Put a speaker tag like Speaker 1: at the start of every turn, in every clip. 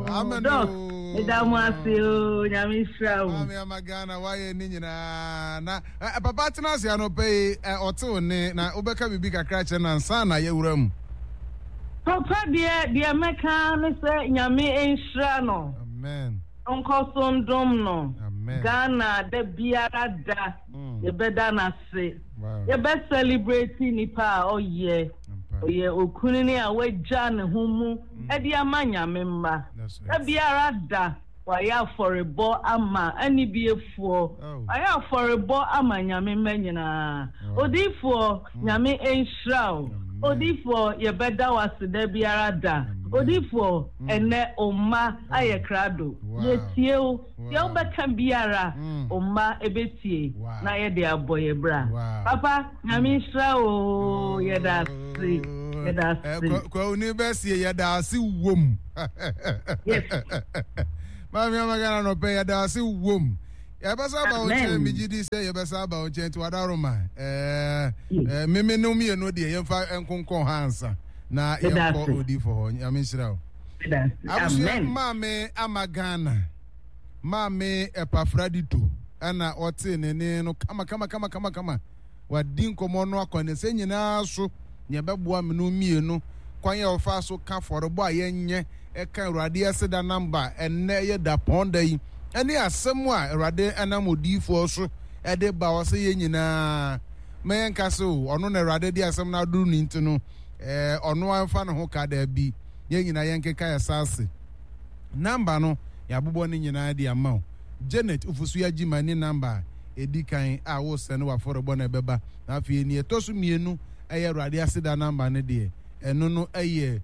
Speaker 1: Amen
Speaker 2: Doc,
Speaker 1: oo.
Speaker 2: meda mo ase oo, Nyame nhyira wo.
Speaker 1: Maame ama Ghana wayɛ ne nyinaa na eh, papa tena ase anɔpa yi eh, ɔte wo ne na wobɛka biribi kakra kyerɛ no ansa na yɛwura mu.
Speaker 2: Papa deɛ deɛ mɛka ne sɛ Nyame nhyira no.
Speaker 1: Amen.
Speaker 2: Ɔnkɔ so ndom no.
Speaker 1: Amen.
Speaker 2: Ghana da biara da yɛbɛda no ase. Yɛbɛ celebrate nipa a ɔyɛ. Ɔyɛ okunini a wagya ne ho mu de ama Nyame mma. Da biara da wayɛ afɔrebɔ ama anibiefoɔ. Wayɛ afɔrebɔ ama Nyame mma nyinaa. Odiyifoɔ, Nyame nhyira wo. Odiyifoɔ, yɛbɛda wo ase da biara da. Odiyifoɔ, ɛnnɛ wo mma ayɛ krado. Yɛtie wo. Deɛ wobɛka biara, wo mma bɛtie na yɛde abɔ yɛ bra. Papa, Nyame nhyira wo oo, yɛda ase, yɛda ase.
Speaker 1: Kwauni bɛsie yɛda ase wom.
Speaker 2: Yes.
Speaker 1: Maame ama Ghana nɔpɛ yɛda ase wom. Yɛbɛsa aba wo nkyɛn, megye di sɛ yɛbɛsa aba wo nkyɛn nti wadaroma. Ɛɛ meme no mmienu deɛ yɛmfa nkonkɔn ha ansa na yɛnkɔ odifo hɔ. Nyame nhyira wo. Abusua maame ama Ghana. Maame Epafradito ɛna ɔtee ne ne no kama kama kama kama kama. Wadi nkɔmmɔ no akwanisɛ nyinaa so nea ɛbɛboa mene mmienu kwan a ɔfa so ka afɔrebɔ a yɛnyɛ ɛka Awurade aseda namba ɛnnɛ ɛyɛ dapɔn da yi ɛne asɛm a Awurade ɛnam odiyifoɔ so ɛde ba ɔsɛ yɛn nyinaa ma yɛnka sɛ o ɔno na Awurade de asɛm no aduru ne nti no ɛɛ ɔno amfa ne ho ka daabi. Yɛn nyinaa yɛnkeka yɛn ase. Number no yɛabobɔ ne nyinaa de ama wo. Janet Ofosu Agyima ne number a ɛdi kan a wosɛne w'afɔrebɔ na ɛbɛba. Na afei nea ɛtɔ so mmienu ɛyɛ Awurade aseda number no deɛ, ɛno no ɛyɛ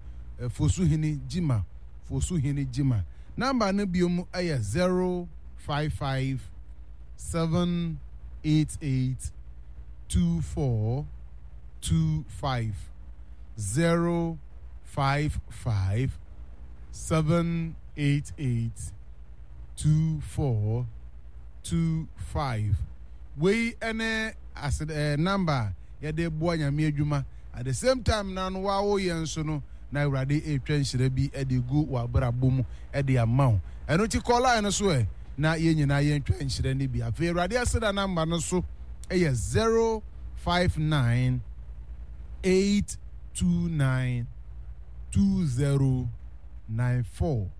Speaker 1: Fosuhene Gyima, Fosuhene Gyima. Number no biom ɛyɛ 055 788 2425 0 55 788 2425 Wei ne ased eh, number a yɛde boa Nyame adwuma. At the same time na no wa wo yɛ nso no na Awurade retwa nhyira bi de gu w'abrabɔ mu de ama wo. Ɛno nti kɔ line no so ɛ na yɛn nyinaa yɛntwa nhyira no bi. Afei Awurade aseda number no so yɛ 059 8 29 2094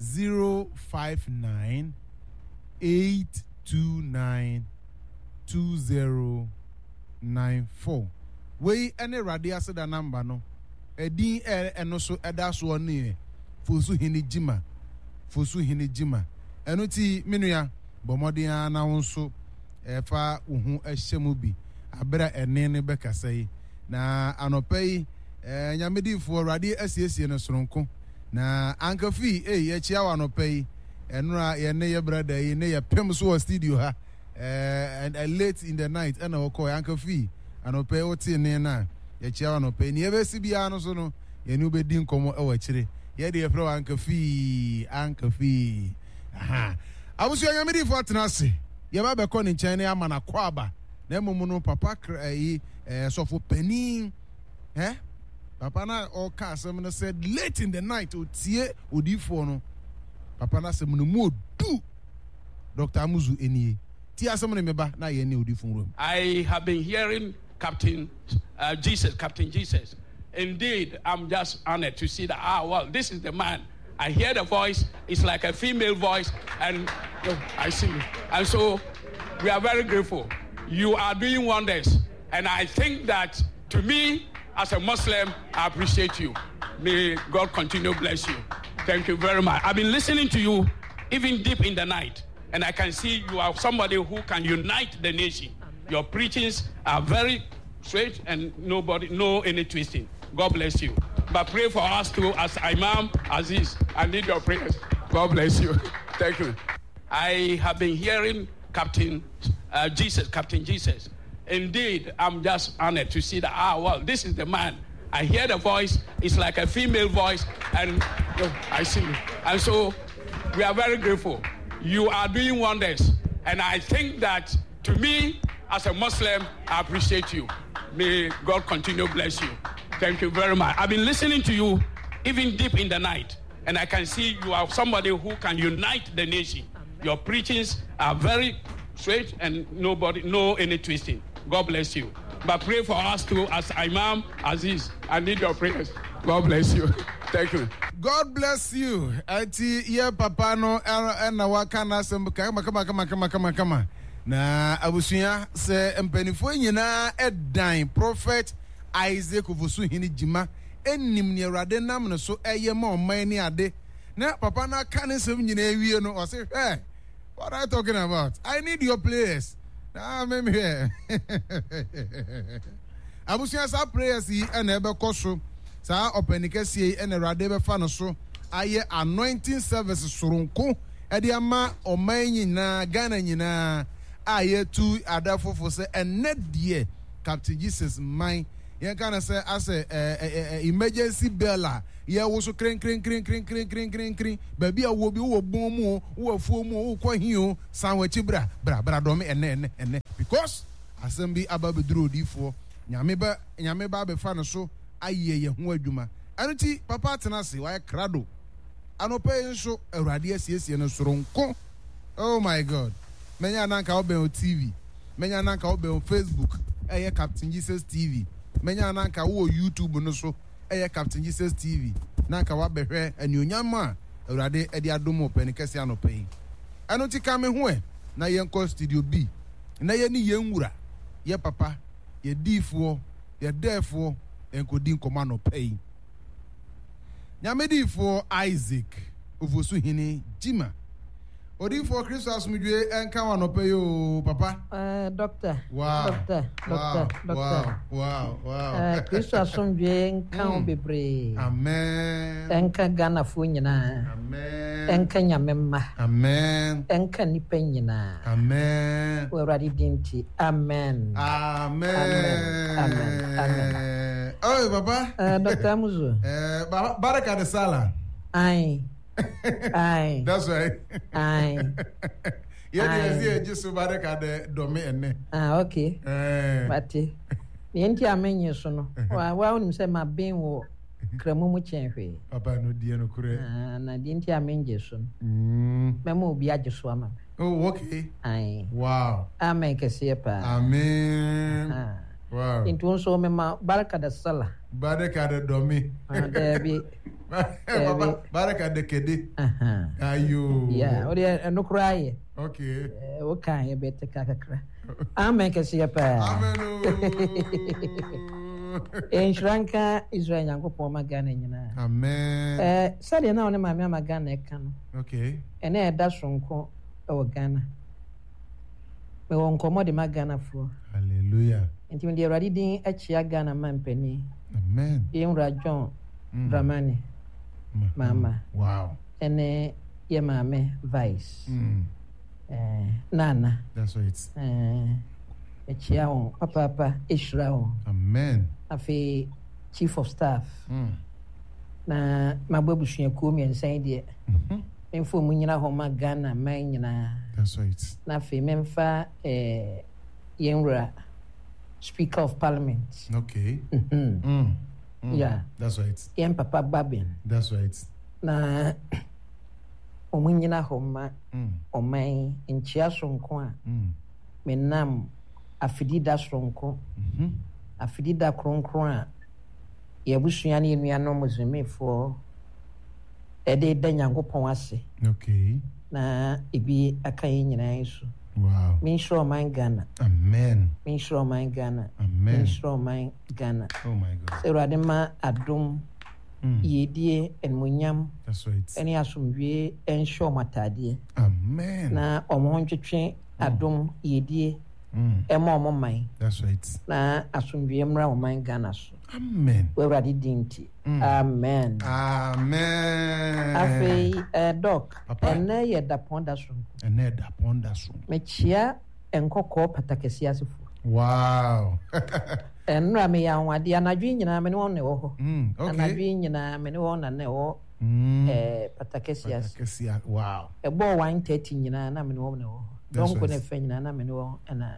Speaker 1: 059 829 2094. Wei ne Awurade aseda namba no. Ɛdin ɛno so ɛda soɔ no yɛ Fosuhene Gyima. Fosuhene Gyima. Ɛno ti me nua bɔ mmɔden ara na wo nso ɛfa wo ho hyɛ mu bi abere a ɛne no bɛkasa yi. Na anɔpa yi, eh, Nyame difoɔ, Awurade asiesie no soronko. Na Anka Fii, ei, yɛkyia wo anɔpa yi. Ɛnora yɛne yɛ brada yi ne yɛpem so wɔ studio ha. Eh, and, uh, late in the night, ɛna wɔkɔɔ Anka Fii, anɔpa yi wotee ne no a, yɛkyia wo anɔpa yi. Nea ɛbɛsi biara no so no, yɛne wobɛdi nkɔmmɔ wɔ akyire. Yɛde yɛfrɛ wo Anka Fii, Anka Fii. Aha. Abusua Nyame difoɔ atena ase. Yɛba bɛkɔ ne nkyɛn ne ama no akɔ aba. Na mmom no papa kra ɛyi ɛɛ sɔfo panin ɛ papa na ɔka asɛm no sɛ late in the night otie odiifoɔ no papa no asɛm no mu odu Dr. Amuzu enie tie asɛm no meba na yɛn ne odiifo nwura mu.
Speaker 3: I have been hearing Captain uh, Jesus, Captain Jesus. Indeed, I'm just honored to see that. Ah, well, this is the man. I hear the voice. It's like a female voice, and I see. And so, we are very grateful. You are doing wonders, and I think that to me, as a Muslim, I appreciate you. May God continue bless you. Thank you very much. I've been listening to you even deep in the night, and I can see you are somebody who can unite the nation. Your preachings are very straight and nobody, no any twisting. God bless you. But pray for us too as Imam Aziz. I need your prayers. God bless you. Thank you. I have been hearing Captain uh, Jesus, Captain Jesus. Indeed, I'm just honored to see that. Ah, well, this is the man. I hear the voice. It's like a female voice, and I see. And so, we are very grateful. You are doing wonders, and I think that to me, as a Muslim, I appreciate you. May God continue bless you. Thank you very much. I've been listening to you even deep in the night. And I can see you are somebody who can unite the nation. Your preachings are very straight and nobody, no any twisting. God bless you. But pray for us too as Imam Aziz. I need your prayers. God bless you. Thank you.
Speaker 1: God bless you. Eti ye papa no na waka n'asɛm kama kama kama kama kama kama. Na abusua sɛ mpanimfoɔ nyinaa ɛdan Prophet Isaac Ofosuhene Gyima ɛnim nea Awurade nam ne so ɛyɛ ma ɔman ne ade. Na papa no aka ne nsɛm nyinaa awie no ɔse hwɛ what are you talking about? I need your players. Na mehwɛ. Abusua saa prayers yi na ɛbɛkɔ so. Saa ɔpɛni kɛseɛ yi na Awurade bɛfa no so ayɛ anointing service soronko de ama ɔman nyinaa, Ghana nyinaa a yɛtu adafofo sɛ ɛnnɛ deɛ Captain Jesus man yɛnka no sɛ asɛ emergency bell a yɛwoso krenkrenkrenkrenkrenkrenkren baabi a wowɔ bi wowɔ bɔn mu o wowɔ afuo mu o wokɔ he o san w'akyi bra bra bra dɔme ɛnnɛ ɛnnɛ ɛnnɛ because Asɛm bi aba abɛduru odiyifoɔ, Nyame ba, Nyame ba abɛfa no so ayɛ yɛn ho adwuma. Ɛno nti, papa atena ase, wayɛ krado. Anɔpa yi nso, Awurade asiesie no soronko. Oh my God! Mɛnya na anka wobɛn wo TV, mɛnya na anka wobɛn wo Facebook, ɛyɛ Captain Jesus TV. Mɛnya na anka wowɔ YouTube no so, ɛyɛ Captain Jesus TV, na anka woabɛhwɛ anuonyam a Awurade de adom wo pɛne kɛse anɔpa yi. Ɛno nti, ka me ho ɛ na yɛnkɔ Studio B. na yɛne yɛn Wura, yɛn Papa, yɛn Diyifoɔ, yɛn Dɛɛfoɔ nkɔdi nkɔmmɔ anɔpa yi. Nyame diyifoɔ Isaac Ofosuhene Gyima. Odiyifoɔ Kristo asomdwoe nka wo anɔpa yi oo papa.
Speaker 4: Eh, doctor.
Speaker 1: Wow.
Speaker 4: Doctor, doctor,
Speaker 1: wow,
Speaker 4: doctor.
Speaker 1: Wow, wow, wow.
Speaker 4: Eh, Kristo asomdwoe nka wo bebree.
Speaker 1: Amen.
Speaker 4: Ɛnka Ghanafoɔ nyinaa.
Speaker 1: Amen.
Speaker 4: Ɛnka Nyame mma.
Speaker 1: Amen.
Speaker 4: Ɛnka nnipa nyinaa.
Speaker 1: Amen.
Speaker 4: Wɔ Awurade din nti, amen.
Speaker 1: Amen.
Speaker 4: Amen. Amen. Amen.
Speaker 1: Oh, papa.
Speaker 4: Dr. Amuzu.
Speaker 1: Baraka de Sala.
Speaker 4: Aye. Aye.
Speaker 1: That's right.
Speaker 4: Aye.
Speaker 1: Yeah, yeah, yeah, just so baraka de dome ene.
Speaker 4: Ah, okay.
Speaker 1: Eh.
Speaker 4: Mate. Nea nti a menye so no, wa wa wonim sɛ maben wɔ kramu mu kyɛn hwee.
Speaker 1: Papa no deɛ no korɛ.
Speaker 4: Ah, na deɛ nti a mengye so no. Mɛma obi agye so ama me.
Speaker 1: Oh, okay.
Speaker 4: Aye.
Speaker 1: Wow.
Speaker 4: Amen kɛseɛ paa.
Speaker 1: Amen.
Speaker 4: Ah.
Speaker 1: Wow.
Speaker 4: Nti wo nso mema baraka da sala.
Speaker 1: Baraka de dɔmi.
Speaker 4: Ah, daabi.
Speaker 1: Papa, baraka de kede. Ayo.
Speaker 4: Yeah, wo deɛ ɛno koraa yɛ.
Speaker 1: Okay.
Speaker 4: Eh, wo kan yɛ bɛte ka kakra. Amen kɛseɛ paa.
Speaker 1: Amen.
Speaker 4: Nhyira nka Israel Nyankopɔn ma Ghana nyinaa.
Speaker 1: Amen.
Speaker 4: Eh, sɛdeɛ na wo ne maame ama Ghana ɛka no.
Speaker 1: Okay.
Speaker 4: Ɛnɛ ɛda soronko wɔ Ghana. Mewɔ nkɔmmɔ de ma Ghanafoɔ.
Speaker 1: Hallelujah.
Speaker 4: Nti mede Awurade din akyia Ghana mampanin.
Speaker 1: Amen.
Speaker 4: Yɛn wura John Dramani Mahama.
Speaker 1: Wow.
Speaker 4: Ɛne yɛ maame Vice. Eh, Nana.
Speaker 1: That's right.
Speaker 4: Eh, mekyia wɔn papaapa, ehyira wɔn.
Speaker 1: Amen.
Speaker 4: Afei Chief of Staff. Na mabɔ abusuakuo mmiɛnsa yi deɛ. Memfa wɔn nyina hɔ ma Ghana man nyinaa.
Speaker 1: That's right.
Speaker 4: Na afei memfa eh, yɛn wura Speaker of Parliament.
Speaker 1: Okay.
Speaker 4: Yeah.
Speaker 1: That's right.
Speaker 4: Yɛn papa Babin.
Speaker 1: That's right.
Speaker 4: Na wɔn nyina hɔ ma ɔman nkyia soronko a menam afidida soronko, afidida kronkron a yɛn abusua ne yɛn nuanom Muslimifoɔ ɛde da Nyankopɔn ase.
Speaker 1: Okay.
Speaker 4: Na ebi aka yɛn nyinaa yi so.
Speaker 1: Wow.
Speaker 4: Menhyira ɔman Ghana.
Speaker 1: Amen.
Speaker 4: Menhyira ɔman Ghana.
Speaker 1: Amen.
Speaker 4: Menhyira ɔman Ghana.
Speaker 1: Oh my God.
Speaker 4: Sɛ Awurade ma adom, yiedie, animuonyam,
Speaker 1: That's right.
Speaker 4: ɛne asomdwie nhyɛ wɔn ataadeɛ.
Speaker 1: Amen.
Speaker 4: Na wɔn ho ntwetwe adom, yiedie, ɛma wɔn man.
Speaker 1: That's right.
Speaker 4: Na asomdwie mmra ɔman Ghana so.
Speaker 1: Amen.
Speaker 4: Wɔ Awurade din nti. Amen.
Speaker 1: Amen.
Speaker 4: Afei, eh, Doc,
Speaker 1: Papa.
Speaker 4: ɛnnɛ yɛ dapɔn da soronko.
Speaker 1: Ɛnnɛ dapɔn da soronko.
Speaker 4: Mekyia nkɔkɔɔ patakɛseɛ asefoɔ.
Speaker 1: Wow.
Speaker 4: Nnora meyɛ anwanwadeɛ. Anadwo yi nyinaa me ne wɔn na ɛwɔ hɔ.
Speaker 1: Okay.
Speaker 4: Anadwo yi nyinaa me ne wɔn na na ɛwɔ eh, patakɛseɛ ase.
Speaker 1: Patakɛseɛ, wow.
Speaker 4: Ɛbɔɔ 1:30 nyinaa na me ne wɔn na ɛwɔ hɔ.
Speaker 1: That's
Speaker 4: Dɔnko
Speaker 1: right.
Speaker 4: ne fɛ nyinaa na me ne wɔn na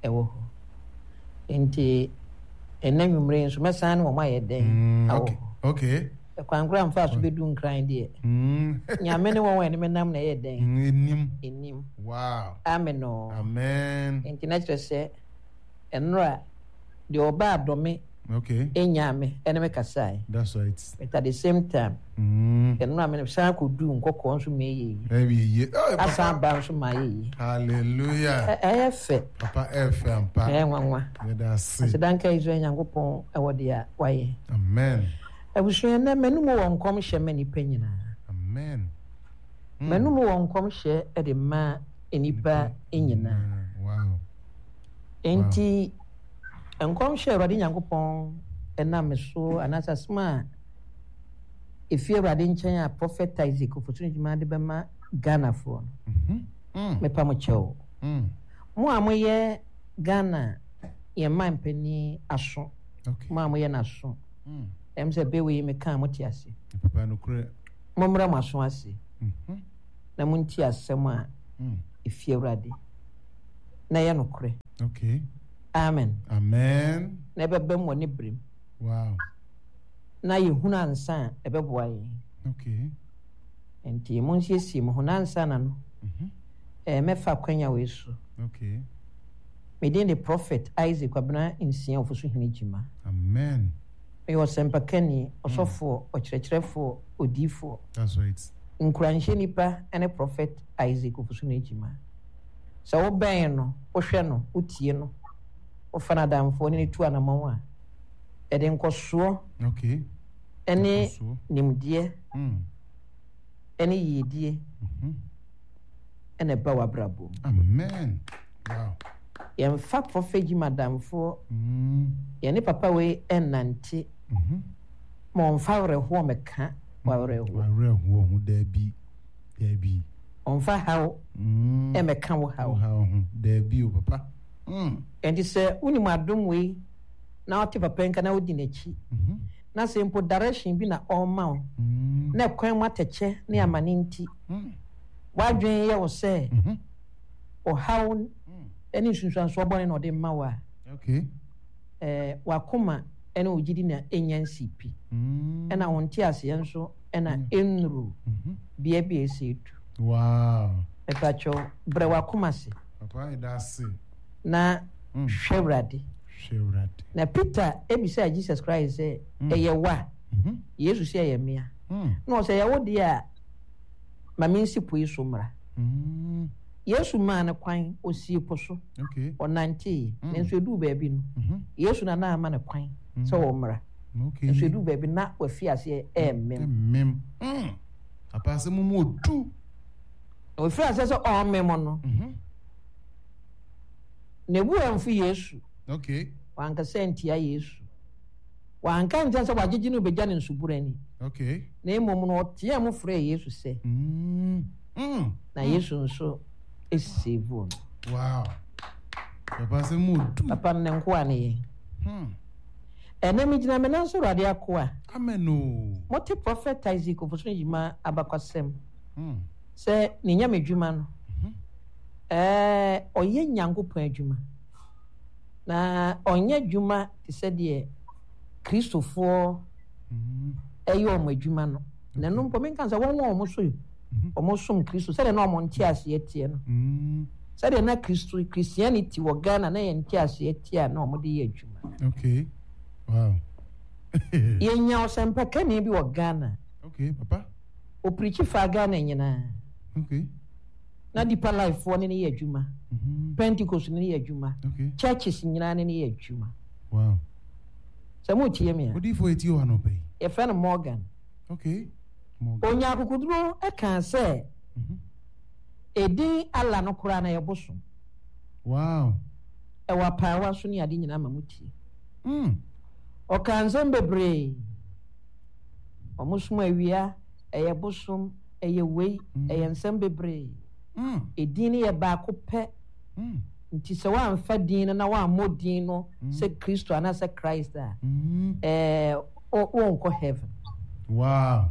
Speaker 4: ɛwɔ hɔ. Nti ɛnɛ nwummere yi nso mɛsan ne wɔn ayɛ dɛn awɔ
Speaker 1: Okay.
Speaker 4: hɔ.
Speaker 1: Okay.
Speaker 4: Ɛkwan koraa mfaa so bɛduu Nkran deɛ, Nyame ne wɔn a ɛne me nam na ɛyɛ dɛn?
Speaker 1: Ɛnim.
Speaker 4: Ɛnim.
Speaker 1: Wow.
Speaker 4: Amen oo.
Speaker 1: Amen.
Speaker 4: Nti na kyerɛ sɛ, ɛnora deɛ ɔbaa dɔ me
Speaker 1: Okay.
Speaker 4: nyaa me ɛne me kasae.
Speaker 1: That's right.
Speaker 4: But at the same time, ɛnora me san kɔduu Nkɔkɔɔ nso ma ɛyɛ yie.
Speaker 1: Ɛyɛ yie. Oh, papa.
Speaker 4: Asan ba nso ma ayɛ yie.
Speaker 1: Hallelujah.
Speaker 4: Ɛyɛ fɛ.
Speaker 1: Papa ɛyɛ fɛ ampa.
Speaker 4: Ɛyɛ nwanwa.
Speaker 1: Yɛda ase.
Speaker 4: Aseda nka Israel Nyankopɔn ɛwɔ deɛ wayɛ.
Speaker 1: Amen.
Speaker 4: Abusua, nnɛ m'anom wɔ nkɔmhyɛ ma nnipa nyinaa.
Speaker 1: Amen.
Speaker 4: M'anom wɔ nkɔmhyɛ de ma nnipa nyinaa.
Speaker 1: Wow.
Speaker 4: Enti nkɔmhyɛ a Awurade Nyankopɔn nam me so anaasɛ asɛm a efi Awurade nkyɛn a Prophet Isaac Ofosu Ngyima de bɛma Ghanafoɔ no, mepa mo kyɛw. Mo a moyɛ Ghana yɛn man panin aso, mo a moyɛ n'aso. Ɛm sɛ bɛ wei meka a mote ase.
Speaker 1: Papa nokorɛ.
Speaker 4: Mommrɛ mo aso ase na montie asɛm a ɛfi Awurade na ɛyɛ nokorɛ.
Speaker 1: Okay.
Speaker 4: Amen.
Speaker 1: Amen.
Speaker 4: Na ɛbɛbam wɔ ne berem.
Speaker 1: Wow.
Speaker 4: Na yɛhunu ansa a ɛbɛboa yɛn.
Speaker 1: Okay.
Speaker 4: Nti monsiesie mo ho na ansa na no. Eh, mɛfa akwanya wei so.
Speaker 1: Okay.
Speaker 4: Me din de Prophet Isaac Kwabena Nsia Ofosuhene Gyimah.
Speaker 1: Amen.
Speaker 4: Meyɛ ɔsɛmpakani, ɔsɔfoɔ, ɔkyerɛkyerɛfoɔ, odiyifoɔ.
Speaker 1: That's right.
Speaker 4: Nkuranhyɛ nipa ne Prophet Isaac Ofosuhene Gyimah. Sɛ wobɛn no, wohwɛ no, wotie no, wofa no adamfoɔ ne no tu anamɔn a, ɛde nkɔsoɔ
Speaker 1: Okay.
Speaker 4: ne
Speaker 1: Nkɔsoɔ.
Speaker 4: nimdeɛ ne yiedie na ɛba w'abrabɔ mu.
Speaker 1: Amen. Wow.
Speaker 4: Yɛmfa Prophet Jim adamfoɔ, yɛne papa wei ɛnnante ma ɔmfa awerɛhoɔ mmɛka w'awerɛhoɔ.
Speaker 1: W'awerɛhoɔ ho daabi, daabi.
Speaker 4: Ɔmfa haw mmɛka wo haw.
Speaker 1: Wo haw ho daabi o papa.
Speaker 4: Ɛnti sɛ wonim adom wei na wote papa nka na wodi n'akyi na sɛ mpo direction bi na ɔrema wo na ɛkwan mu atɛkyɛ ne amane nti w'adwene yɛ wo sɛ ɔhaw ne nsunsuansoɔ bɔne na ɔde ma wo a, w'akoma ne wo gyidi na ɛnnya nsii pi, ɛna wo nteaseɛ nso na ɛnnuru bea bi a ɛsɛ ɛdu. Mepakyɛw, brɛ w'akoma ase na hwɛ Awurade. Na Peter bisaa Jesus Christ sɛ, Ɛyɛ wo a? Yesu sɛ, Ɛyɛ me a. Na ɔsɛ, Ɛyɛ wo deɛ a, ma mensi po yi so mmra. Yesu maa no kwan, ɔsii po so, ɔnantee, nanso ɛduu baabi no, Yesu na na ama no kwan sɛ ɔmmra. Nanso ɛduu baabi no, na wafi aseɛ remem.
Speaker 1: Papa asɛm mu ɔdu.
Speaker 4: Na ɔfiri aseɛ sɛ ɔremem no, ne bo amfu Yesu. Wankasa antia Yesu. Wanka ankyerɛ no sɛ wagyegye no rebɛgya no nsubura ani. Na mmom no, ɔteɛɛ mu frɛɛ Yesu sɛ. Na Yesu nso seevuu no.
Speaker 1: Wow. Papa asɛm mu odu.
Speaker 4: Papa no ne nkoa ne yɛn. Ɛnnɛ megyina me nan so Awurade akoa.
Speaker 1: Amen o.
Speaker 4: Mote Prophet Isaac Ofosu-Gyimah abakwasɛm sɛ ne nyamedwuma no, ɛɛ ɔyɛ Nyankopɔn adwuma. Na ɔnyɛ adwuma te sɛ deɛ Kristofoɔ yɛ wɔn adwuma no. Na ɛno mpo menka sɛ wɔn a wɔn so wɔn som Kristo sɛdeɛ na wɔn nteaseɛ teɛ no. Sɛdeɛ na Kristo Christianity wɔ Ghana na yɛn nteaseɛ teɛ a na wɔn de yɛ adwuma.
Speaker 1: Okay. Wow.
Speaker 4: Yɛnya ɔsɛmpakani bi wɔ Ghana.
Speaker 1: Okay, papa.
Speaker 4: Ɔpirikyi faa Ghana nyinaa.
Speaker 1: Okay.
Speaker 4: Na Deeper Life foɔ ne no yɛ adwuma. Pentecost ne no yɛ adwuma. Churches nyinaa ne no yɛ adwuma.
Speaker 1: Wow.
Speaker 4: Sɛ mo tie me a.
Speaker 1: Odiyifoɔ yɛ tie wɔ anɔpa yi.
Speaker 4: Yɛfrɛ no Morgan.
Speaker 1: Okay. Morgan.
Speaker 4: Onya akokoduro kaa sɛ edin Allah no koraa na yɛ bosom.
Speaker 1: Wow.
Speaker 4: Ɛwɔ apaawa so ne ade nyinaa ma mo tie. Ɔkaa nsɛm bebree. Wɔn som awia, ɛyɛ bosom, ɛyɛ wei, ɛyɛ nsɛm bebree. Edin no yɛ baako pɛ. Nti sɛ woamfa din no na woammɔ din no sɛ Kristo anaasɛ Christ a, ɛɛ wonkɔ heaven.
Speaker 1: Wow.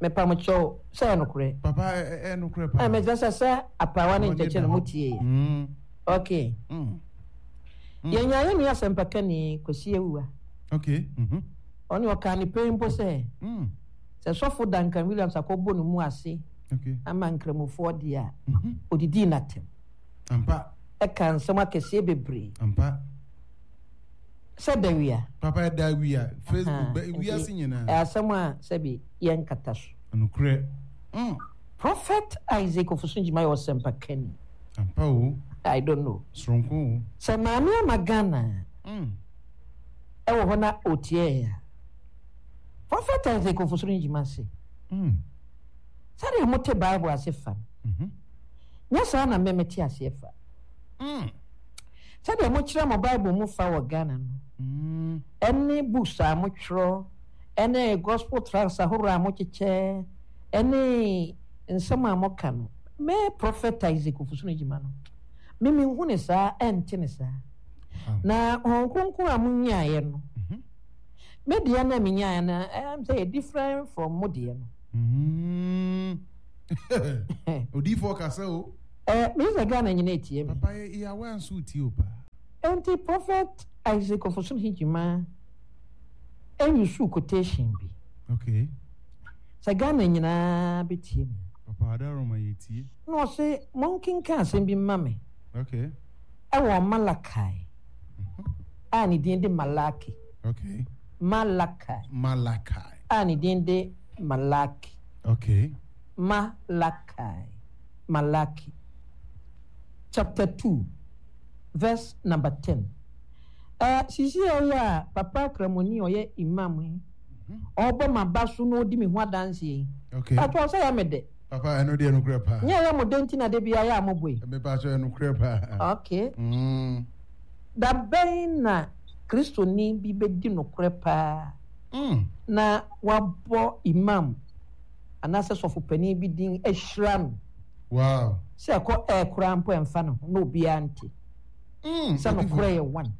Speaker 4: Mepa mo kyɛw sɛ ɛyɛ nokorɛ.
Speaker 1: Papa ɛyɛ nokorɛ paa.
Speaker 4: Ɛmɛ sɛ sɛ apaawa ne nkyɛkyɛ no mo tie yɛ. Okay. Yɛnya yɛn nua asɛmpakani Kwasi Awuah.
Speaker 1: Okay.
Speaker 4: Ɔne ɔkaa ne pɛn mpo sɛ. Sɛ sɔfo Duncan Williams akɔbɔ ne mu ase ama nkramofoɔ deɛ a, ɔdidii n'atɛm.
Speaker 1: Ampa.
Speaker 4: Ɛka nsɛm akɛseɛ bebree.
Speaker 1: Ampa.
Speaker 4: Sɛ da wia.
Speaker 1: Papa ɛda wia. Facebook bɛ wiase nyinaa.
Speaker 4: Ɛyɛ asɛm a sɛbi yɛnkata so.
Speaker 1: Nokorɛ.
Speaker 4: Prophet Isaac Ofosu Ngyima yɛ ɔsɛmpakani.
Speaker 1: Ampa o.
Speaker 4: I don't know.
Speaker 1: Soronko o.
Speaker 4: Sɛ Maame Ama Ghana ɛwɔ hɔ na ɔtie yɛn a, Prophet Isaac Ofosu Ngyima se, sɛdeɛ mote Bible ase fa no, nyɛ saa na me mete aseɛ fa. Sɛdeɛ mokyerɛ mo Bible mu fa wɔ Ghana no, ɛne books a motwerɛ, ɛne gospel tracts ahoroɔ a mokyekyɛ, ɛne nsɛm a moka no, me Prophet Isaac Ofosu Ngyima no, me menhu ne saa, ɛnte ne saa. Na Honhom Kronkron a monyaeɛ no, me deɛ no a menyaeɛ no, ɛyɛ sɛ yɛ different from mo deɛ no.
Speaker 1: Odiyifoɔ kasa o.
Speaker 4: Eh, me sɛ Ghana nyina etie me.
Speaker 1: Papa yɛ yɛ nso tie o paa.
Speaker 4: Enti Prophet Isaac Ofosu Hijima ɛyusu quotation bi.
Speaker 1: Okay.
Speaker 4: Sɛ Ghana nyinaa bɛtie me.
Speaker 1: Papa Adaroma yɛ tie.
Speaker 4: Na ɔse monkenka asɛm bi mma me.
Speaker 1: Okay.
Speaker 4: Ɛwɔ Malachi a ne din de Malaki.
Speaker 1: Okay.
Speaker 4: Malachi.
Speaker 1: Malachi.
Speaker 4: A ne din de Malaki.
Speaker 1: Okay.
Speaker 4: Malachi. Malaki. Chapter 2, verse number 10. Sisi a ɔyɛ a papa Kramoni ɔyɛ imam yi, ɔbɔ m'aba so na ɔdi me ho adanseɛ yi.
Speaker 1: Okay.
Speaker 4: Papa ɔsɛ yɛ me dɛ.
Speaker 1: Papa ɛno deɛ nokorɛ paa.
Speaker 4: Nyɛ yɛ mo dɛ nti na de bia yɛ a mo boe.
Speaker 1: Mepa kyɛ nokorɛ paa.
Speaker 4: Okay. Da bɛn na Kristoni bi bɛdi nokorɛ paa na wabɔ imam anaasɛ sɔfopanin bi din ahyira no?
Speaker 1: Wow.
Speaker 4: Sɛ ɛkɔ ɛɛ koraa mpo ɛmfa ne ho na obiara nte. Sɛ nokorɛ yɛ one.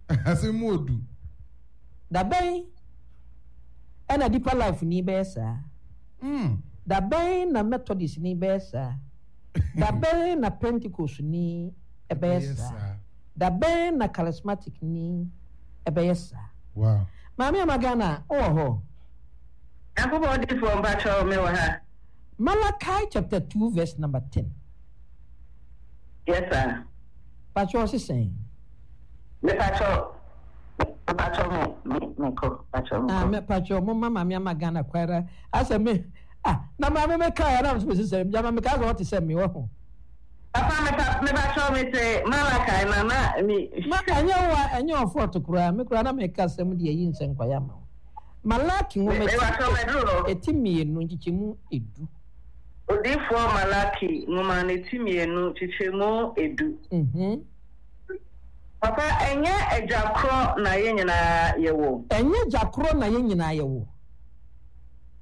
Speaker 1: Asɛm mu odu.
Speaker 4: Da bɛn ɛna Deeper Life ni bɛyɛ saa? Da bɛn na Methodist ni bɛyɛ saa? Da bɛn na Pentecost ni ɛbɛyɛ saa? Da bɛn na Charismatic ni ɛbɛyɛ saa?
Speaker 1: Wow.
Speaker 4: Maame Ama Ghana, wowɔ hɔ?
Speaker 2: Nyankopɔn odiyifoɔ mpakyɛw me wɔ ha.
Speaker 4: Malachi chapter 2 verse number 10.
Speaker 2: Yes sir.
Speaker 4: Pakyɛw ɔse sɛn?
Speaker 2: Me pakyɛw me pakyɛw me me me kɔ pakyɛw me kɔ.
Speaker 4: Ah me pakyɛw mo ma maame ama Ghana kwara asɛ me ah na maame me kaa ya na me sɛ sɛ gyama me kaa sɛ ɔte sɛ me wɔ ho.
Speaker 2: Papa me pa me pakyɛw me te Malachi na na me.
Speaker 4: Ma ɛnyɛ wo a ɛnyɛ ɔfɔɔto koraa me koraa na me ka sɛm de ayi nsɛnkwaya ma wo. Malaki nwoma ti eti mmienu nkyekyɛmu edu.
Speaker 2: Odiyifoɔ Malaki nwoma no ti mmienu nkyekyɛmu edu. Papa, ɛnyɛ agya korɔ na yɛn nyinaa yɛwɔ?
Speaker 4: Ɛnyɛ agya korɔ na yɛn nyinaa yɛwɔ.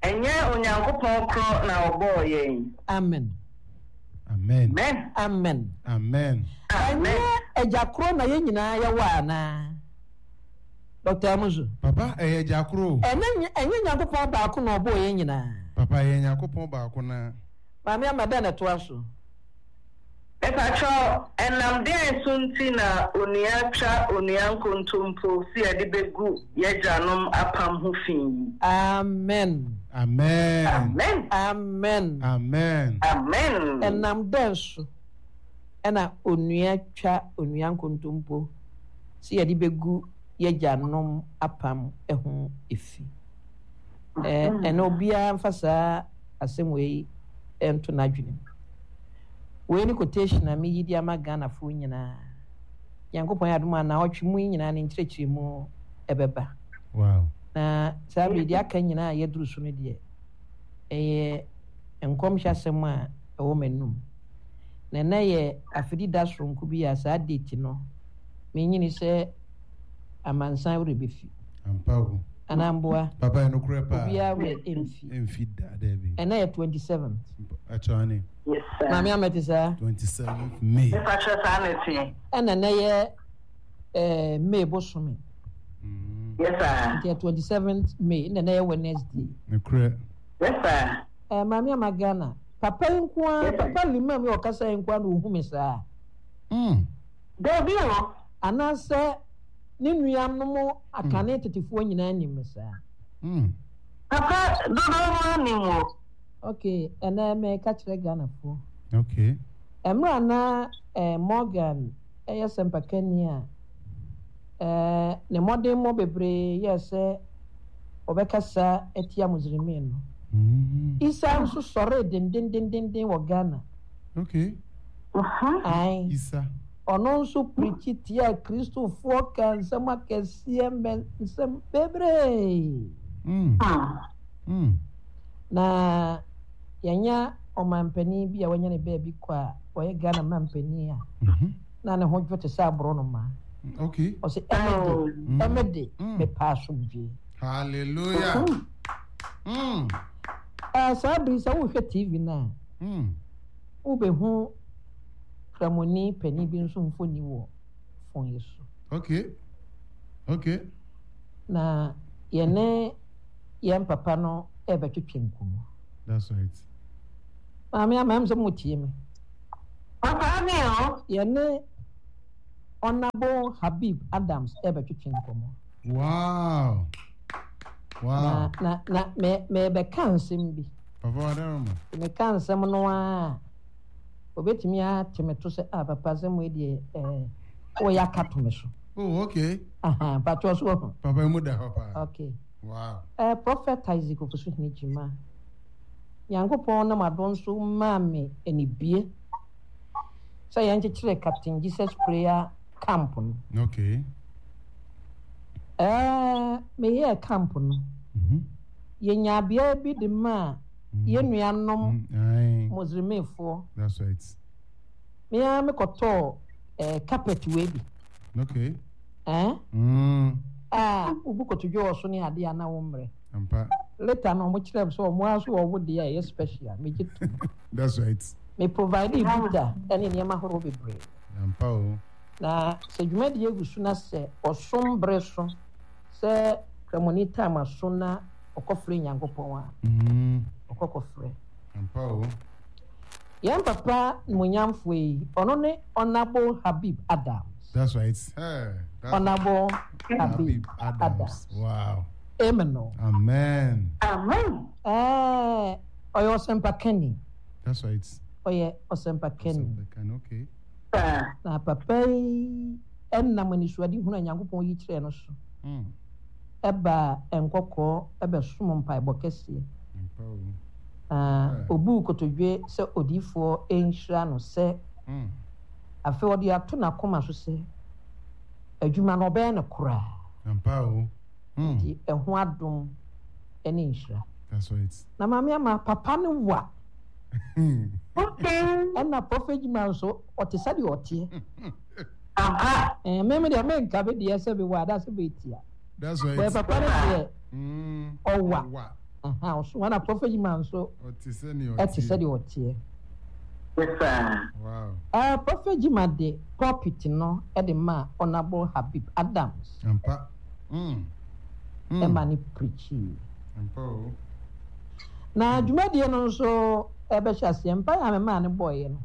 Speaker 2: Ɛnyɛ Onyankopɔn korɔ na ɔbɔɔ yɛn?
Speaker 4: Amen.
Speaker 1: Amen.
Speaker 4: Amen.
Speaker 1: Amen.
Speaker 4: Ɛnyɛ agya korɔ na yɛn nyinaa yɛwɔ anaa? Dɔkta Amuzu.
Speaker 1: Papa, ɛyɛ agya korɔ o.
Speaker 4: Ɛnyɛ ɛnyɛ Nyankopɔn baako na ɔbɔɔ yɛn nyinaa?
Speaker 1: Papa, ɛyɛ Nyankopɔn baako na.
Speaker 4: Maame Ama, dɛn na ɛtoa so?
Speaker 2: Mepakyɛw, ɛnam deɛn so nti na onua twa onua nkontompo se yɛde bɛgu y'agyanom apam ho fi yi?
Speaker 4: Amen.
Speaker 1: Amen.
Speaker 2: Amen.
Speaker 4: Amen.
Speaker 1: Amen.
Speaker 2: Amen.
Speaker 4: Ɛnam dɛn so na onua twa onua nkontompo se yɛde bɛgu y'agyanom apam ho fi? Ɛnɛ obiara mfa saa asɛm wei nto n'adwene mu. Wei ne quotation a meyi de ama Ghanafoɔ nyinaa. Nyankopɔn yɛ adom a naawɔtwe mu yi nyinaa ne nkyerɛkyerɛmu ɛbɛba.
Speaker 1: Wow.
Speaker 4: Na saa bere deɛ aka nyinaa a yɛaduru so no deɛ, ɛyɛ nkɔmhyɛ asɛm a ɛwɔ m'anum. Na ɛnɛ yɛ afedi da soronko bi a saa date no, menyini sɛ amansan werɛ bɛfi.
Speaker 1: Ampa o.
Speaker 4: Anaa mboa?
Speaker 1: Papa yɛ nokorɛ paa.
Speaker 4: Obiara werɛ mfi.
Speaker 1: Mfi da daabi.
Speaker 4: Ɛnɛ yɛ 27th.
Speaker 1: Akyane.
Speaker 2: Yes sir.
Speaker 4: Maame Amɛte saa?
Speaker 1: 27th May.
Speaker 2: Mepa kyɛ saa na ɛteɛ.
Speaker 4: Ɛna ɛnɛ yɛ eh, May bosome.
Speaker 2: Yes sir.
Speaker 4: Nti yɛ 27th May ɛna ɛnɛ yɛ Wednesday.
Speaker 1: Nokorɛ.
Speaker 2: Yes sir.
Speaker 4: Eh, Maame Ama Ghana, papa yi nko ara, papa Limam yi ɔkasa yi nko ara na ohu me saa.
Speaker 2: Dabi o.
Speaker 4: Anaasɛ ne nuanom akane tetefoɔ nyinaa nim me saa.
Speaker 2: Papa dodoɔ no ara nim wo.
Speaker 4: Ok, ɛnɛ meka kyerɛ Ghanafoɔ.
Speaker 1: Ok.
Speaker 4: Mmerɛ a na eh, Morgan yɛ sɛmpakani a, eh, ne mmɔdemmɔ bebree yɛɛ sɛ ɔbɛkasa atia Muslimii no. Isa nso sɔree dendendendenden wɔ Ghana.
Speaker 1: Ok.
Speaker 4: Ae.
Speaker 1: Isa.
Speaker 4: Ɔno nso pirikyi tiaa Kristofoɔ kaa nsɛm akɛseɛ mɛ nsɛm bebree. Na yɛanya ɔmanpanin bi a wanya ne baabi kɔ a ɔyɛ Ghana manpanin a na ne ho dwo te sɛ aborɔnoma.
Speaker 1: Okay.
Speaker 4: Ɔsɛ ɛmɛ de, ɛmɛ de, mepɛ asomdwoe.
Speaker 1: Hallelujah.
Speaker 4: Saa bere sɛ wohwɛ TV no a, wobɛhu Kramoni panin bi nso mfoni wɔ fon yi so.
Speaker 1: Okay. Okay.
Speaker 4: Na yɛne yɛn papa no rebɛtwetwe nkɔmmɔ.
Speaker 1: That's right.
Speaker 4: Maame ama ɛm sɛ mo tie me.
Speaker 2: Papa mi o.
Speaker 4: Yɛne Honourable Habib Adams rebɛtwetwe nkɔmmɔ.
Speaker 1: Wow. Wow.
Speaker 4: Na na na me mebɛka nsɛm bi.
Speaker 1: Papa Wadaroma.
Speaker 4: Meka nsɛm no a. Obetumi ate me to sɛ, ah, papa asɛm wei deɛ, eh, woyɛ aka to me so.
Speaker 1: Oh, okay.
Speaker 4: Aha, mpakyɛw so wahu.
Speaker 1: Papa emu da hɔ paa.
Speaker 4: Okay.
Speaker 1: Wow.
Speaker 4: Eh, Prophet Isaac Ofosuhene Gyimah, Nyankopɔn nam adom so maa me anibue sɛ yɛnkyekyere Captain Jesus Prayer Camp no.
Speaker 1: Okay.
Speaker 4: Eh, meyɛɛ camp no.
Speaker 1: Mm -hmm.
Speaker 4: Yɛnyaa beaeɛ bi de maa yɛn nuanom Muslimfoɔ.
Speaker 1: That's right.
Speaker 4: Me ara mekɔtɔɔ eh, carpet wei bi.
Speaker 1: Okay.
Speaker 4: Eh?
Speaker 1: Mm.
Speaker 4: A wobu kotodwe wɔ so ne adeɛ a na wo mmerɛ.
Speaker 1: Ampa.
Speaker 4: Later no wɔn kyerɛ m sɛ wɔn ara so wɔn deɛ a ɛyɛ special megye tom.
Speaker 1: That's right.
Speaker 4: Me provide buta ne nneɛma ahorow bebree.
Speaker 1: Ampa o.
Speaker 4: Na sɛ dwumadie gu so na sɛ ɔsom bere so sɛ Kramoni time aso na ɔkɔfrɛ Nyankopɔn a, ɔkɔ kɔfrɛ.
Speaker 1: Ampa o.
Speaker 4: Yɛn papa nimonyamfoɔ yi, ɔno ne Honourable Habib Adams.
Speaker 1: That's right. Hey, that's
Speaker 4: Honourable Habib,
Speaker 1: Habib Adams.
Speaker 4: Adams.
Speaker 1: Wow.
Speaker 4: Amen o.
Speaker 1: Amen.
Speaker 2: Amen.
Speaker 4: Ɛɛ, ɔyɛ ɔsɛmpakani.
Speaker 1: That's right.
Speaker 4: Ɔyɛ ɔsɛmpakani.
Speaker 1: Ɔsɛmpakani, okay.
Speaker 4: Na papa yi nam anisoadehunu a Nyankopɔn yi kyerɛɛ no so.
Speaker 1: Mm.
Speaker 4: Baa nkɔkɔɔ bɛsom mpaebɔ kɛseɛ, na ɔbuu kotodwe sɛ odiyifoɔ nhyira no sɛ afei ɔde ato n'akoma so sɛ adwuma no ɔbɛyɛ no koraa. Nti ɛho adom ne nhyira. Na Maame Ama, papa no wa. Ɛna Prophet Juma nso ɔte sɛdeɛ ɔteɛ.
Speaker 2: Ampa.
Speaker 4: Eh, me me deɛ menka me deɛ sɛ mewɔ anaasɛ metia.
Speaker 1: That's right.
Speaker 4: Bɛɛ papa no deɛ ɔwa.
Speaker 1: Ɔwa.
Speaker 4: Aha, ɔso ana Prophet Juma nso
Speaker 1: Ɔte sɛ nea
Speaker 4: ɛte
Speaker 1: ɔteɛ.
Speaker 4: sɛdeɛ ɔteɛ.
Speaker 2: Yes, sir.
Speaker 1: Wow.
Speaker 4: Eh, Prophet Juma de pulpit no de maa Honourable Habib Adams
Speaker 1: Ampa. Mm. Mm.
Speaker 4: ɛma no preachii.
Speaker 1: Ampa o.
Speaker 4: Na dwumadie no nso ɛbɛhyɛ aseɛ, mpaeɛ a memaa no bɔeɛ no,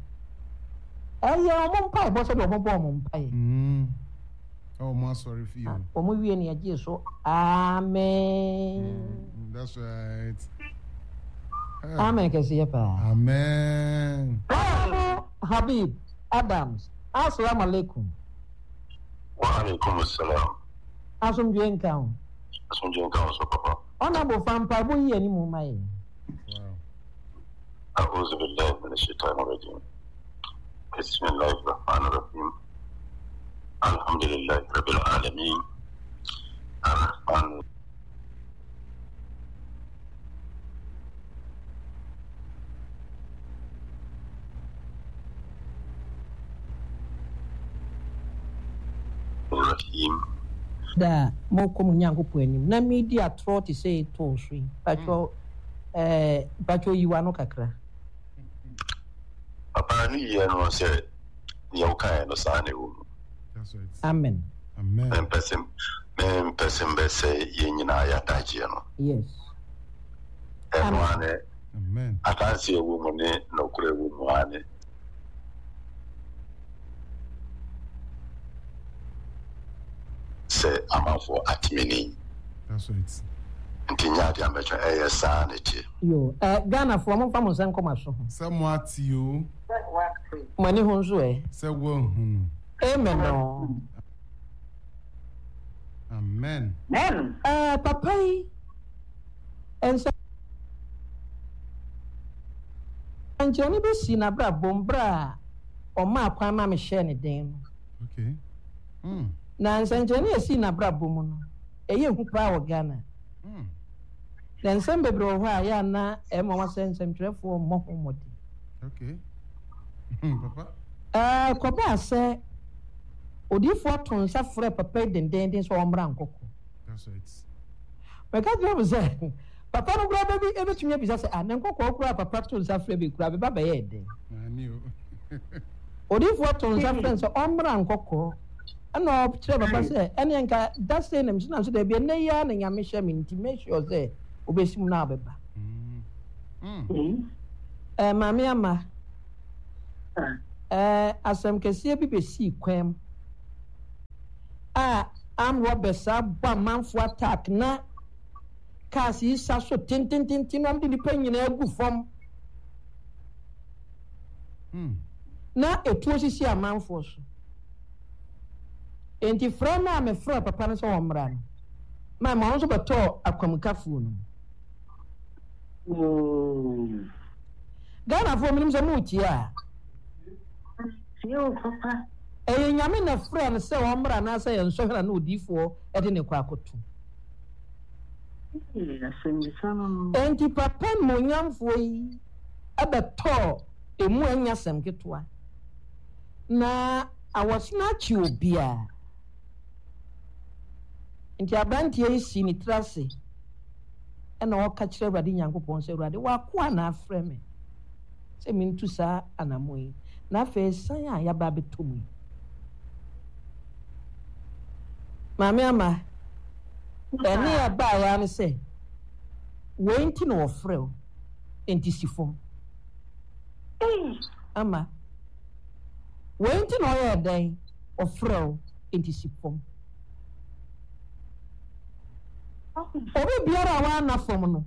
Speaker 4: ɛyɛ wɔn mpaebɔ sɛdeɛ wɔbɔ wɔn mpaeɛ.
Speaker 1: Mm. Ɛwɔ wɔn asɔre fie o.
Speaker 4: Wɔn wie no yɛgyee so amen.
Speaker 1: Mm, that's right.
Speaker 4: Amen kɛseɛ paa.
Speaker 1: Amen.
Speaker 4: Honorable Habib Adams, Assalamu alaikum.
Speaker 5: Wa alaikum assalam.
Speaker 4: Asomdwoe nka wo.
Speaker 5: Asomdwoe nka wo so papa.
Speaker 4: Honourable fa mpaebɔ yi anim ma yɛn.
Speaker 5: A'udhu billahi minash shaitani rajim. Bismillahir rahmanir rahim. Alhamdulillahi rabbil alamin. Ar-Rahman Rahim.
Speaker 4: Da a morekɔ mo Nyankopɔn anim na meredi atorɔ te sɛ etoo so yi, mpakyɛw eh, mpakyɛw yi w'ano kakra.
Speaker 5: Papa no yie no sɛ nea wokaeɛ no saa na ɛwɔ mu.
Speaker 4: Amen.
Speaker 5: Mempɛ sɛ mempɛ sɛ mbɛsɛe yɛn nyinaa yɛ adagyeɛ no.
Speaker 4: Yes.
Speaker 5: Ɛno ara ne adanseɛ ɛwɔ mu ne nɔkorɛ ɛwɔ mu ara ne. Sɛ amanfoɔ ate me nne yi.
Speaker 1: That's right.
Speaker 5: Nti nyɛ adeɛ a mɛtwɛn, ɛyɛ saa na ɛteɛ.
Speaker 4: Yoo eh Ghanafoɔ momfa mo nsa nkɔ mo aso ho.
Speaker 1: Sɛ mo ate o.
Speaker 4: Mo ani ho nso ɛ.
Speaker 1: Sɛ woahunu.
Speaker 4: Amen oo.
Speaker 1: Amen.
Speaker 4: Eh papa yi nsɛnkyerɛnne bi sii n'abrabɔ mu berɛ a ɔmaa kwan ma mehyɛɛ ne den no.
Speaker 1: Okay. Mm.
Speaker 4: Na nsɛnkyerɛnne a esii n'abrabɔ mu no, ɛyɛ hu paa wɔ Ghana.
Speaker 1: Mm.
Speaker 4: Na nsɛm bebree wɔ hɔ a ɛyɛ a na ɛyɛ nwanwa sɛ nsɛmtwerɛfoɔ mmɔ ho mmɔden.
Speaker 1: Okay. Papa.
Speaker 4: Ɛɛ, kɔbaa sɛ odiyifoɔ too nsa frɛɛ papa yi dendeenden sɛ ɔmmra nkɔkɔ.
Speaker 1: That's right.
Speaker 4: Mɛka kyerɛ mo sɛ, papa no koraa bɛbi ebetumi abisa sɛ, ah, ne nkɔkɔɔ koraa papa too nsa frɛ bi koraa bɛba bɛyɛɛ dɛn?
Speaker 1: Ani o.
Speaker 4: Odiyifoɔ too nsa frɛ no sɛ ɔmmra nkɔkɔɔ. Ɛna ɔkyerɛɛ papa sɛ, ɛneɛ nka da sei na mesi nam sɛ daabi, ɛnnɛ yi ara na Nyame hyɛ me nti make sure sɛ wobɛsi mu na wobɛba. Ɛɛ Maame Ama, ɛɛ asɛm kɛseɛ bi bɛsii kwan mu a armed robbers abɔ amanfoɔ attack na cars yi sa so tentententen na wɔde nnipa nyinaa gu fam na etuo sisi amanfoɔ so. Enti frɛ no a mefrɛɛ papa no sɛ ɔmmra no, ma ɔno nso bɛtɔɔ akwamukafoɔ no mu. Ghanafoɔ menim sɛ moretie a.
Speaker 2: Tie o papa.
Speaker 4: Ɛyɛ Nyame na ɛfrɛɛ no sɛ ɔmmra anaasɛ ɛyɛ nsɔhwɛ na na odiyifoɔ de no rekɔ akɔto?
Speaker 2: Asɛmmisa no no.
Speaker 4: Enti papa nimuonyamfoɔ yi bɛtɔɔ emu ɛnyɛ asɛm ketewa. Na awɔsene akye obiara. Enti aberanteɛ yi sii ne tiri ase na ɔka kyerɛ Awurade Nyankopɔn sɛ, Awurade, w'akoa na afrɛ me sɛ mentu saa anammɔn yi, na afei asiane a yɛaba abɛtɔ mu yi. Maame Ama, ɛnne a ɛbaeɛ ara ne sɛ, Wei nti na wɔfrɛ wo, enti si fam. Ama, wei nti na ɔyɛɛ dɛn? Ɔfrɛ wo, enti si fam. Obi biara a wanna fam no,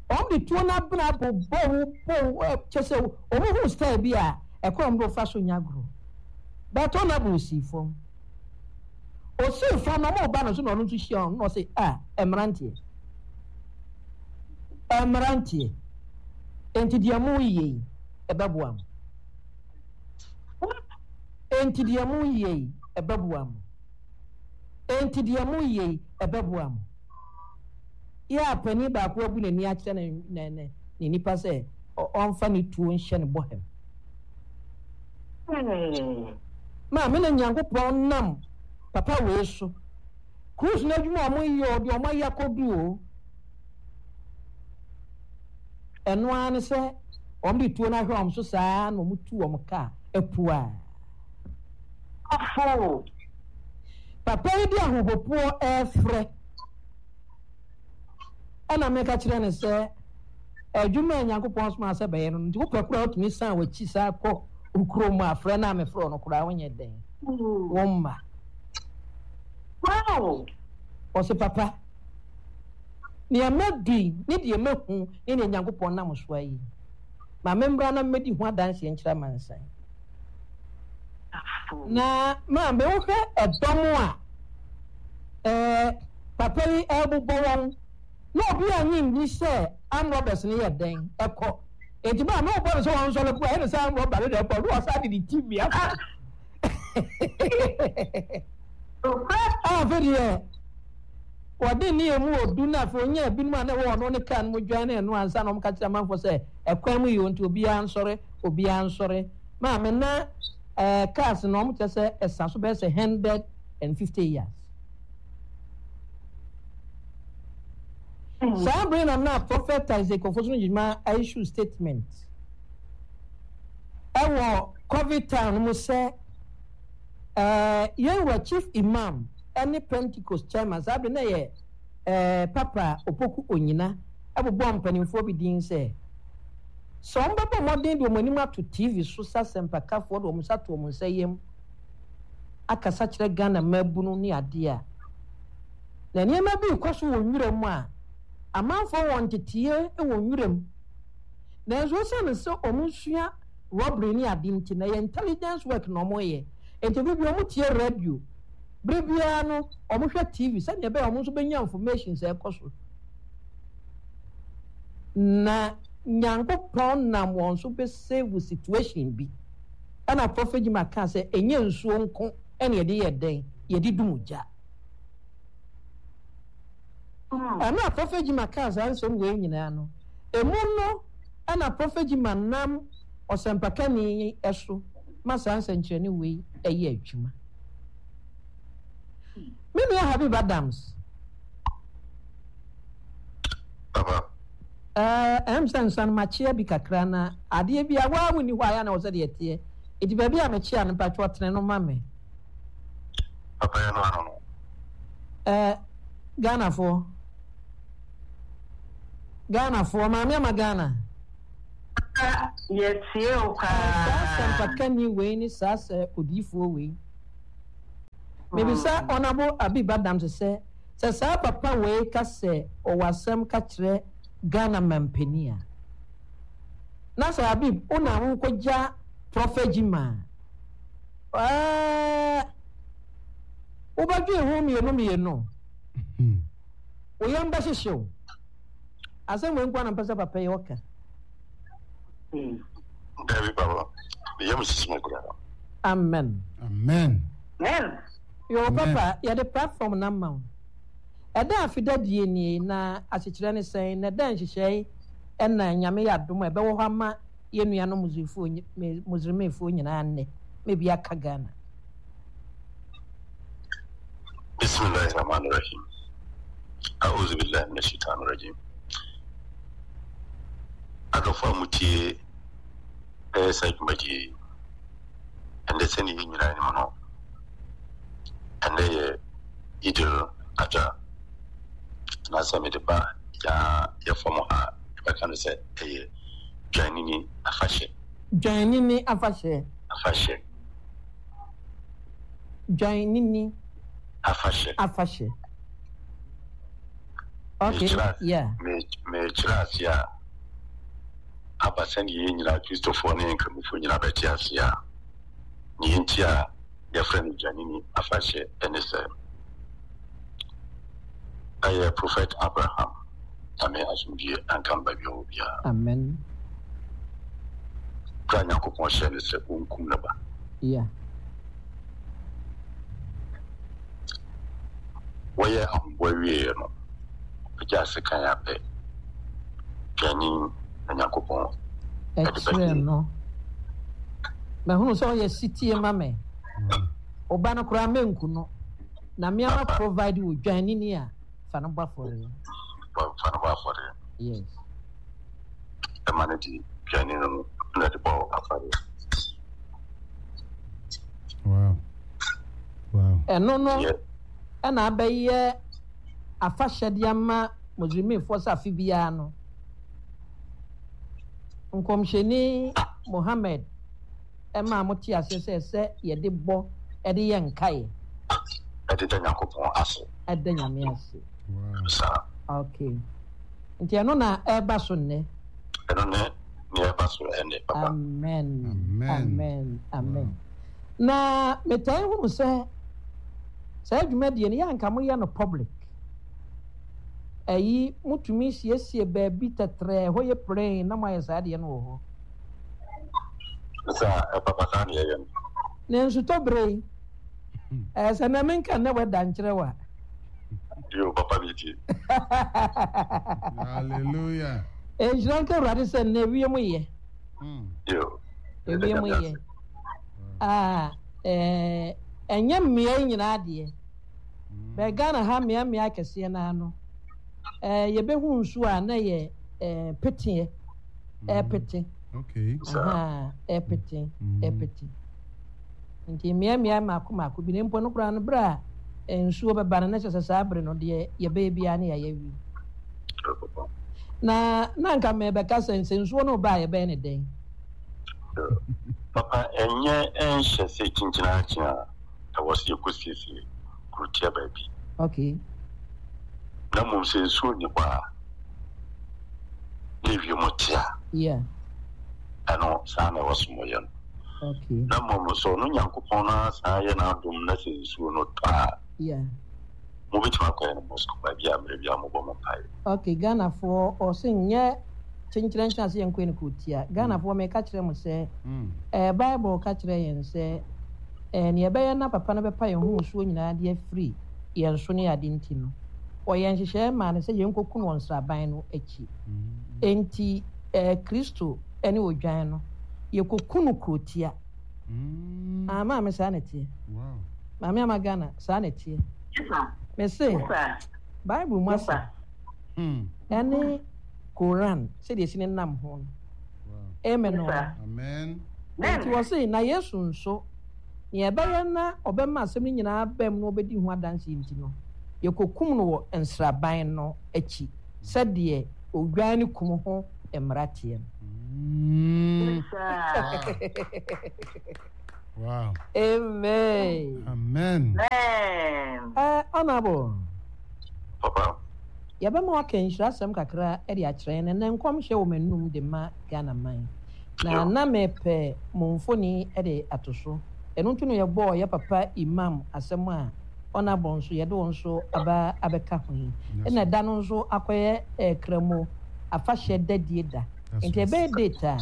Speaker 4: wɔn de tuo no abena bobɔ wo bɔ wo kyɛ sɛ wɔn hu style bi a ɛkwan wɔn de fa so nya agorɔ. But ɔnabɔ osii fam. Osii fam na wɔn ba no so na ɔno nso hyia wɔn na ɔse ah mmeranteɛ. Mmeranteɛ, enti deɛ moreyɛ yi, ɛbɛboa mo? Enti deɛ moreyɛ yi, ɛbɛboa mo? Enti deɛ moreyɛ yi, ɛbɛboa mo? Yɛ a panin baako abu n'ani akyerɛ ne, ne, ne, ne nipa sɛ ɔmfa ne tuo nhyɛ ne bɔham. Maame na Nyankopɔn nam papa wei so Cruise no adwuma a wɔyɛ o, deɛ wɔayɛ akɔdu o, ɛno ara ne sɛ wɔde tuo no ahwɛ wɔn so saa na wɔtu wɔn kaa apua.
Speaker 2: Afo!
Speaker 4: Papa yi de ahopopoɔ refrɛ ɛna meka kyerɛ no sɛ adwuma a Nyankopɔn somaa sɛ bɛyɛ no nti wopɛ koraa wotumi san w'akyi saa kɔ wo kurom a frɛ no a mefrɛ no koraa wonyɛ dɛn wo mma.
Speaker 2: Wow!
Speaker 4: Ɔse, Papa, nea madu yi ne deɛ mahu ne nea Nyankopɔn nam so ayɛ yi, ma memmra na mmɛdi ho adanseɛ nkyerɛ amansan. Na maame, wohwɛ ɛdɔm a ɛɛ papa yi ɛrebobɔ wɔn, na obi annye nni sɛ armed robbers no yɛ dɛn ɛkɔ. Enti maame wobɔ no sɛ ɔnsɔre koraa, ɛne sɛ armed robber no na ɛkɔ, na ɔsan de ne ti wia. Afei deɛ wɔde ne emu odu na afei onyaa ebinom a na ɛwɔ ɔno ne kaa no mu dwan ne ɛno ansa na wɔka kyerɛ amanfoɔ sɛ ɛkwan mu yɛ nti obiara nsɔre obiara nsɔre maame na ɛɛ cars no wɔn kyerɛ sɛ ɛsa so bɛyɛ sɛ 150 years. Saa bere na na Prophet Isaac Ofosu Gyimah issue statement ɛwɔ Covid time no mu sɛ ɛɛ yɛn wura Chief Imam ɛne Pentecost chairman saa bere na yɛ ɛɛ Papa Opoku Onyina ɛbobɔ mpanimfoɔ bi din sɛ sɛ wɔn bɛbɔ mmɔden de wɔn anim ato TV so sɛ asɛmpakafoɔ de wɔn nsa to wɔn nsa yam akasa kyerɛ Ghana mmabunu ne adeɛ a. Na nneɛma bi rekɔ so wɔ nwura mu a, amanfoɔ wɔ nteteeɛ wɔ nwura mu. Nanso esiane sɛ wɔsua robbery ne ade nti, na ɛyɛ intelligence work na wɔyɛ. Enti bere biara wɔtie radio, bere biara no wɔhwɛ TV sɛnea ɛbɛyɛ a wɔn nso bɛnya information sɛ ɛkɔ so. Na Nyankopɔn nam wɔn so bɛ save situation bi. Ɛna Prophet Jimah kaa sɛ ɛnyɛ nsuo nko na yɛde yɛ dɛn? Yɛde dum gya. Ɛno a Prophet Jimah kaa saa nsɛm wei nyinaa no, emu no na Prophet Jimah nam ɔsɛmpakani yi so ma saa nsɛnkyerɛnne wei yɛ adwuma. Me nua Habib Adams.
Speaker 5: Papa.
Speaker 4: Ɛɛ, ɛm sɛ nsa no makyea bi kakra na adeɛ bi a waa wonni hɔ a yɛ na wɔ sɛ deɛ ɛteɛ. Eti baabi a mekyea no mpatwɔ tene no ma me.
Speaker 5: Papa yɛ no ano no.
Speaker 4: Ɛɛ, Ghanafoɔ. Ghanafoɔ, maame ama Ghana.
Speaker 2: Yɛtie wo paa.
Speaker 4: Saa sɛmpakani wei ne saa sɛ odiyifoɔ wei. Mebisa Honourable Abib Adams sɛ, sɛ saa papa wei ka sɛ ɔwɔ asɛm ka kyerɛ Ghana mampanin a, na sɛ Abib wo na wokɔgya Prophet Gyimah a, ɛɛ wobɛdwen ho mmienu mmienu? Wo yam bɛhyehye wo? Asɛm wei nko ara na mpɛ sɛ papa yi ɔka.
Speaker 5: Dabi papa, me yam sisi me koraa.
Speaker 4: Amen.
Speaker 1: Amen.
Speaker 2: Amen.
Speaker 4: Yo papa, yɛde platform no ama wo. Ɛda afida die nie na asekyerɛ ne sɛn na ɛda nhyehyɛe ɛna Nyame yɛ adom a ɛbɛwɔ hɔ ama yɛn nuanom Muslimfoɔ nyinaa nnɛ ma ebi aka Ghana.
Speaker 5: Bismillahi Rahmani Rahim. A'udhu billahi minash shaitani rajim. Adɔfo a mutie ɛyɛ saa dwumadie yi, ɛndɛ sɛdeɛ yɛn nyinaa nim no, ɛndɛ yɛ Idil Adha, anaasɛ mede ba yaa yɛ fam ha yɛbɛka no sɛ ɛyɛ Dwanini afahyɛ.
Speaker 4: Dwanini afahyɛ.
Speaker 5: Afahyɛ.
Speaker 4: Dwanini.
Speaker 5: Afahyɛ.
Speaker 4: Afahyɛ. Okay, yeah.
Speaker 5: Mekyerɛ ase a, aba sɛdeɛ yɛn nyinaa Kristofoɔ ne Nkramofoɔ nyinaa bɛte ase a, nea enti a yɛfrɛ no Dwanini afahyɛ ne sɛ, ɛyɛ Prophet Abraham, Nyame asomdwie nka no baabi a ɔwɔ biara.
Speaker 4: Amen.
Speaker 5: Berɛ a Nyankopɔn hyɛɛ no sɛ ɔnkum ne ba.
Speaker 4: Yeah.
Speaker 5: Wɔyɛɛ ahoboa wieeɛ no, ɔpagyaa sekan a pɛ, dwanini na Nyankopɔn de
Speaker 4: Ɛkyerɛɛ
Speaker 5: bɛgyee.
Speaker 4: no. Mahunu sɛ ɔyɛ setie ma me. Wo ba no koraa menku no. Na me ara ma provide wo dwanini a fa no bɔ afɔreɛ.
Speaker 5: Fa no bɔ afɔreɛ.
Speaker 4: Yes.
Speaker 5: Ɛma no de dwanini no na ɛde bɔɔ afɔreɛ.
Speaker 1: Wow. Wow.
Speaker 4: Ɛno no ɛna abɛyɛ afahyɛ de ama Muslimifoɔ sɛ afe biara no Nkɔmhyɛni Muhammad ɛmaa mo te aseɛ sɛ ɛsɛ yɛde bɔ ɛde yɛ nkaeɛ.
Speaker 5: Ɛde da Nyankopɔn ase.
Speaker 4: Ɛda Nyame ase.
Speaker 5: Saa.
Speaker 4: Okay. Nti ɛno na ɛreba so nnɛ.
Speaker 5: Ɛno ne nea ɛba so ɛnnɛ, papa.
Speaker 4: Amen. Amen. Amen. Na metaa hunu sɛ saa dwumadie no yɛ anka moyɛ no public. Ayi motumi siesie baabi tɛtrɛɛ hɔ yɛ plain na moayɛ saa adeɛ no wɔ hɔ.
Speaker 5: Saa papa saa na yɛyɛ no.
Speaker 4: Na nsutɔ berɛ yi, ɛɛ sɛ na menka nnɛ wɛda nkyerɛ wo a.
Speaker 5: Yo, papa mi tie.
Speaker 1: Hallelujah.
Speaker 4: Nhyira nka Awurade sɛ nnɛ wiem yɛ.
Speaker 5: Yo.
Speaker 4: Ewiem yɛ. Ah, eh, ɛnyɛ mmea yi nyinaa deɛ. Bɛɛ Ghana ha mmea mmea akɛseɛ no ano. Eh, yɛbɛhu nsuo a na yɛ eh, peteɛ. Ɛpete.
Speaker 1: Okay.
Speaker 4: Aha, ɛpete, ɛpete. Nti mmea mmea mmaako mmaako bi na mpo no koraa no berɛ a nsuo bɛba no na kyerɛ sɛ saa bere no deɛ yɛbɛyɛ biara ne yɛayɛ wie. Na na anka mebɛka sɛ sɛ nsuo no ba a yɛbɛyɛ ne dɛn?
Speaker 5: Papa, ɛnyɛ ɛnhyɛ sɛ kyinkyini akye a ɛwɔ sɛ yɛkɔsiesie kurotia baabi.
Speaker 4: Okay.
Speaker 5: Na mmom sɛ nsuo nni hɔ a, na ewiem te a, ɛno saa na ɛwɔ so moyɛ no. Na mmom sɛ ɔno Nyankopɔn no ara san yɛ n'adom na sɛ nsuo no tɔ a, mobɛtumi akɔyɛ no mosque baabi a mmerɛ biara mobɔ mo mpaeɛ.
Speaker 4: Ok Ghanafoɔ ɔse nyɛ kyenkyerɛnkyɛn ase yɛnkɔyɛ no kurotia. Ghanafoɔ meka kyerɛ mo sɛ ɛɛ Bible ka kyerɛ yɛn sɛ ɛɛ nea ɛbɛyɛ na papa no bɛpa yɛn ho musuo nyinaa de afiri yɛn so ne ade nti no ɔyɛɛ nhyehyɛɛ maa no sɛ yɛnkɔku no wɔ nsraban no akyi. Enti ɛɛ Kristo ne odwan no yɛkɔku no kurotia. Ah maame saa na ɛteɛ. Maame ama Ghana saa na ɛteɛ. Mese Bible mu asɛm ɛne Koran sɛdeɛ ɛsi ne nam ho no. Amen o. Enti wɔse na Yesu nso nea ɛbɛyɛ na ɔbɛma asɛm no nyinaa abam na ɔbɛdi ho adanseɛ nti no, yɛkɔkum no wɔ nsraban no akyi sɛdeɛ odwan no kum ho mmara teɛ no.
Speaker 1: Wow.
Speaker 4: Amen.
Speaker 1: Amen.
Speaker 4: Honorable.
Speaker 5: Papa.
Speaker 4: Yɛbɛma waka nhyira asɛm kakra de akyerɛ yɛn. Ɛnnɛ nkɔmhyɛ wɔ m'anum de ma Ghana man. Na na mepɛ mo mfoni de ato so. Ɛno nti na yɛbɔɔ yɛ papa Imam asɛm a Honourable nso yɛde wo nso aba abɛka ho yi. Ɛna da no nso akɔyɛ Kramo afahyɛ dadie da. Nti ɛbɛyɛ date a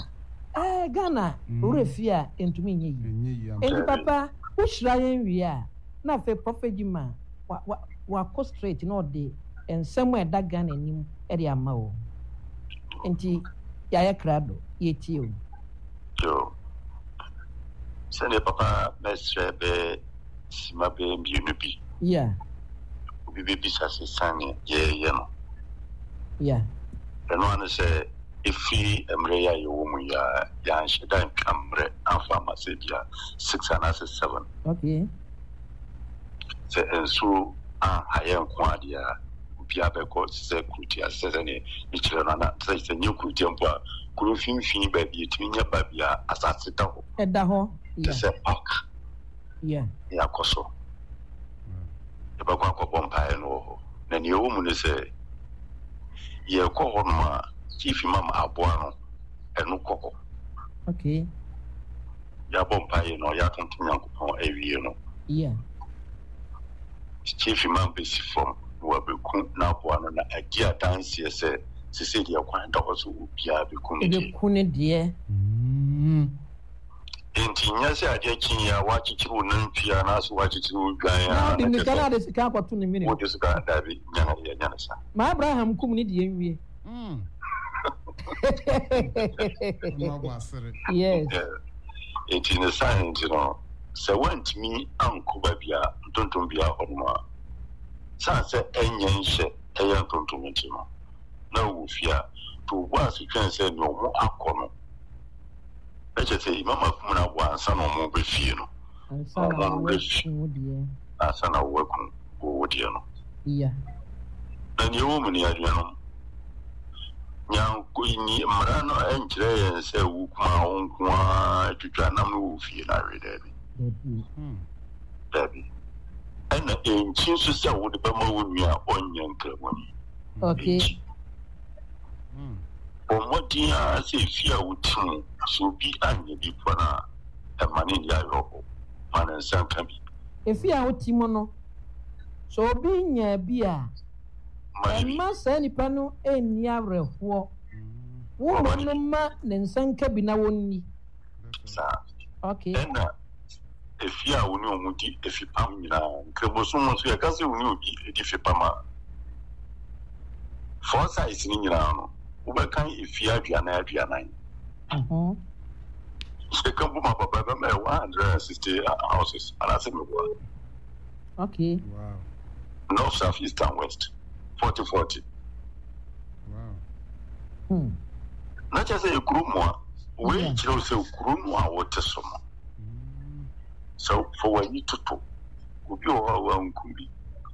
Speaker 4: eh, Ghana werɛ fie a ɛntumi nyɛ yie. Nti papa wohyira yɛn wie a na afei Prophet Gyimah wa wa wakɔ straight na ɔde nsɛm a ɛda Ghana anim de ama o. Nti yɛayɛ krado, yɛtie o.
Speaker 5: Yo. Sɛdeɛ papa mɛsrɛ bɛ sima bɛyɛ mmienu bi.
Speaker 4: Yeah.
Speaker 5: Obi bɛbisa sɛ sane yɛyɛ no.
Speaker 4: Yeah.
Speaker 5: Ɛno ano sɛ ɛfiri mmerɛ yi a yɛwɔ mu yi a yɛanhyɛ da ntwa mmerɛ amfa ama sɛ bia 6 anaasɛ 7.
Speaker 4: Okay.
Speaker 5: Sɛ nsuo anha yɛn nko ara deɛ a, obiara bɛkɔ sɛ kurotia sɛ sɛdeɛ mekyerɛ no ana sɛ sɛ nyɛ kurotia mpo a kuro mfimfini baabi yɛtumi nya baabi a asase da hɔ
Speaker 4: ɛda hɔ
Speaker 5: te sɛ park ne yɛakɔ so yɛbɛkɔ akɔbɔ mpaeɛ no wɔ hɔ na nea ɛwɔ mu ne sɛ yɛkɔ hɔ nom a chief imam aboa no ɛno kɔ hɔ
Speaker 4: okay
Speaker 5: Yɛabɔ mpaeɛ no, yɛatontom Nyankopɔn awie no, Chief Imam bɛsi fam na wabɛku n'aboa no na adi adanseɛ sɛ sesei deɛ kwan da hɔ sɛ obiara bɛku ne deɛ.
Speaker 4: Bɛku ne deɛ.
Speaker 5: Enti nyɛ sɛ adeɛ kye yi a woakyekyere wo nantwie anaasɛ woakyekyere wo dwan a
Speaker 4: na wode mmirika na ade sika akɔto ne mene.
Speaker 5: Wode sika daabi nyɛ no yɛnyɛ no saa.
Speaker 4: Ma Abraham kum ne deɛ nwie. Yes.
Speaker 5: Nti ne saa nti no, sɛ woantumi ankɔ baabi a ntontom biara hɔ nom a, sane sɛ ɛnyɛ nhyɛ ɛyɛ ntontom nti no, na wowɔ fie a, to wo bo ase twɛn sɛ nea ɔmo akɔ no, na kyerɛ sɛ Imam akum no aboa ansa na ɔmo bɛ fie no.
Speaker 4: Ansa na wɔakum wo deɛ.
Speaker 5: Ansa na wɔakum wo deɛ no.
Speaker 4: Yeah.
Speaker 5: Na nea ɛwɔ mu ni, anuanom, Nyanko nyi mmara no nkyerɛ yɛn sɛ wo kuma a wo nko ara twitwa nam no wɔ fie no awe daabi. Daabi. Ɛna ɛnkyi nso sɛ wode bɛma wo nua a ɔnyɛ nkramoni.
Speaker 4: Okay.
Speaker 5: Ɛnkyi. Bɔ mmɔden ara sɛ efie a wote mu sɛ obi anyɛ bi mpo no a, ɛma no nni awerɛhow. Ma ne nsa nka bi.
Speaker 4: Efie a wote mu no, sɛ obi nya bi a, Mma saa nipa no nni awerɛhoɔ. Wo mmom no ma ne nsa nka bi na wɔnni.
Speaker 5: Saa.
Speaker 4: Okay.
Speaker 5: Ɛna efie a wo ne wɔn di efipam nyinaa, Nkramosom mu nso yɛka sɛ wo ne obi di fipam a, four sides no nyinaa no, wobɛkan efie 40 40. Yɛka bom a papa ɛbɛma yɛ 160 houses anaasɛ meboa.
Speaker 4: Okay.
Speaker 1: Wow.
Speaker 5: North, South, East and West. 40 40.
Speaker 1: Wow.
Speaker 5: Na kyerɛ sɛ ekuro mu a wei kyerɛ wo sɛ kuro no a wote so no sɛ fa w'ani toto obi wɔ hɔ a wanku bi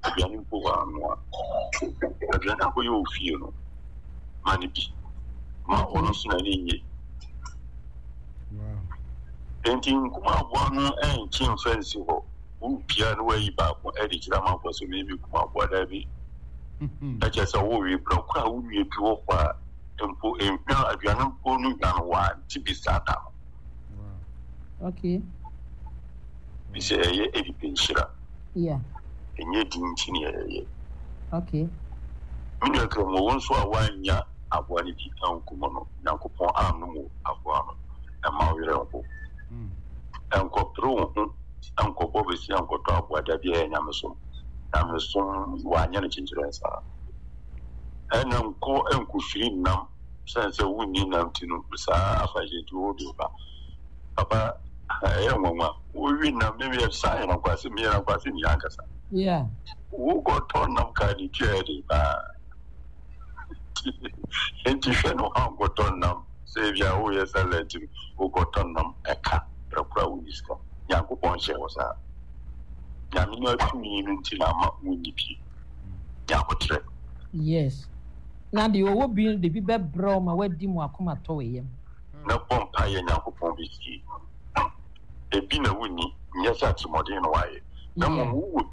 Speaker 5: aduane mpo wɔ anoa aduane akɔyɛ wɔ fie no ma no bi ma ɔno nso n'ani nye.
Speaker 1: Wow.
Speaker 5: Enti nkum aboa no ɛnkye mfa nsi hɔ. Wopia na wayi baako de kyerɛ amanfoɔ sɛ me mekum aboa daabi. Na kyerɛ sɛ wowe berɛ koro a wo nua bi wɔ hɔ a mpo nhwa aduane mpo no hwa no wante bi saa da no.
Speaker 4: Okay.
Speaker 5: Bi sɛ ɛyɛ ɛdi nhyira.
Speaker 4: Yeah.
Speaker 5: Ɛnyɛ din nti ne ɛyɛ.
Speaker 4: Okay.
Speaker 5: Me nua Kramu, wo nso a woannya aboa no bi ankum no, Nyankopɔn annom wo aboa no, mma wo werɛ nho. Nkɔpere wo ho nkɔbɔ bosea nkɔtɔ aboa, dabi, ɛyɛ nyamesom. Nyamesom, wɔanyɛ no kyenkyerɛn saa. Ɛna nkɔ nkɔfiri nnam, sɛne sɛ wonni nnam nti no, saa afahyɛ nti wode ba. Papa, ɛyɛ nwanwa, wowi nnam, me meyɛ saa yɛ nankwase, meyɛ nankwase ni ankasa.
Speaker 4: Yeah.
Speaker 5: Wokɔtɔ nnam ka ne tua yɛ den paa. Nti hwɛ no woankɔtɔ nnam sɛ ebia woyɛ salad nti no wokɔtɔ nnam ɛka berɛ koro a wonni sika. Nyankopɔn nhyɛɛ wo saa. Nyame no atumi no nti na ama wonni bi. Nya aboterɛ.
Speaker 4: Yes. Na deɛ ɔwɔ bi no de bi bɛbrɛ wo ma woadi mo akoma tɔ wo yam.
Speaker 5: Na bɔ mpaeɛ Nyankopɔn bɛtie. Ebi na wonni, nyɛ sɛ atirimuɔden na woayɛ, na mmom wowɔ.